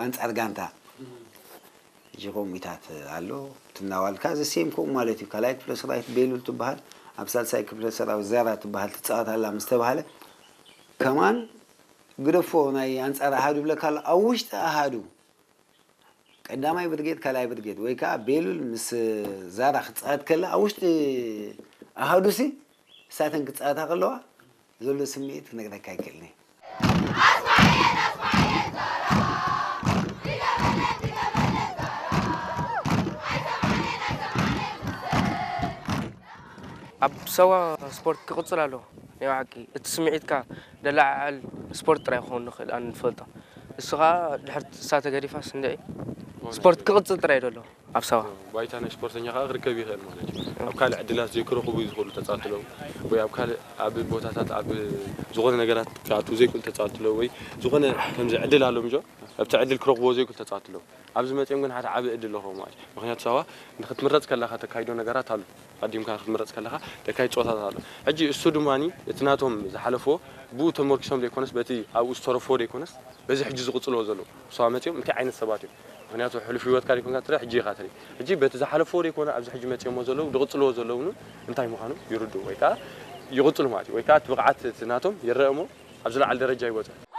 ኣንጻር ጋንታ። ሕጂ ከምኡታት ኣሎ ትናዋልካ ዘሴም ከምኡ ማለት እዩ። ካልኣይ ክፍለ ሰራዊት ቤሉል ትበሃል፣ ኣብ ሳልሳይ ክፍለ ሰራዊት ዛራ ትበሃል ትፃወት ኣላ ምስ ተባሃለ፣ ከማን ግደፎ ናይ ኣንጻር ኣሃዱ ይብለካ ኣሎ። ኣብ ውሽጢ ኣሃዱ ቀዳማይ ብርጌድ፣ ካልኣይ ብርጌድ ወይ ከዓ ቤሉል ምስ ዛራ ክፃወት ከላ ኣብ ውሽጢ ኣሃዱ ሲ እሳተን ክፃወታ ከለዋ ዘሎ ስምዒት ክነግረካ ኣይክእልን እየ። ኣብ ሳዋ ስፖርት ክቕፅል ኣለዎ። ናይ ብሓቂ እቲ ስምዒትካ ደለዓዕል ስፖርት ጥራይ ክኸውን ንኽእል ኣነ ዝፈልጦ። እሱ ከዓ ድሕር እሳ ተገዲፋስ እንድዒ ስፖርት ክቕፅል ጥራይ ደሎ ኣብ ሳዋ። ባይታ ናይ ስፖርተኛ ከዓ ክርከብ ይኽእል ማለት እዩ። ኣብ ካልእ ዕድላት ዘይክረኽቡ ዝኽእሉ ተፃወትቲ ኣለዉ ወይ ኣብ ካልእ ኣብ ቦታታት ኣብ ዝኾነ ነገራት ክኣትዉ ዘይክእሉ ተፃወትቲ ኣለዉ ወይ ዝኾነ ከምዚ ዕድል ኣሎም ጆ ኣብቲ ዕድል ክረኽብዎ ዘይክእሉ ተፃወትቲ ኣለዉ። ኣብዚ መፂኦም ግን ሓደ ዓቢ ዕድል ኣለኹም ማለት እዩ። ምክንያቱ ሳዋ ንክትምረፅ ከለካ ተካይዶ ነገራት ኣሎ። ኣዲምካ ክትምረፅ ከለካ ተካይድ ፀወታታት ኣሎ። ሕጂ እሱ ድማ እቲ ናቶም ዝሓለፍዎ ብኡ ተመርኪሶም ዘይኮነስ በቲ ኣብኡ ዝተረፍዎ ዘይኮነስ በዚ ሕጂ ዝቕፅልዎ ዘለዉ ሳዋ መፂኦም እንታይ ዓይነት ሰባት እዮም። ምክንያቱ ሕሉፍ ህይወትካ ዘይኮንካ ትርኢ ሕጂ ኢኻ ትርኢ። ሕጂ በቲ ዝሓለፍዎ ዘይኮነ ኣብዚ ሕጂ መፂኦሞ ዘለዉ ዝቕፅልዎ ዘለዉ እውን እንታይ ምዃኑ ይርድኡ ወይ ከዓ ይቕፅሉ ማለት እዩ። ወይ ከዓ እቲ ብቕዓት እቲ ናቶም ይረአ እሞ ኣብ ዝለዓለ ደረጃ ይበፅሑ።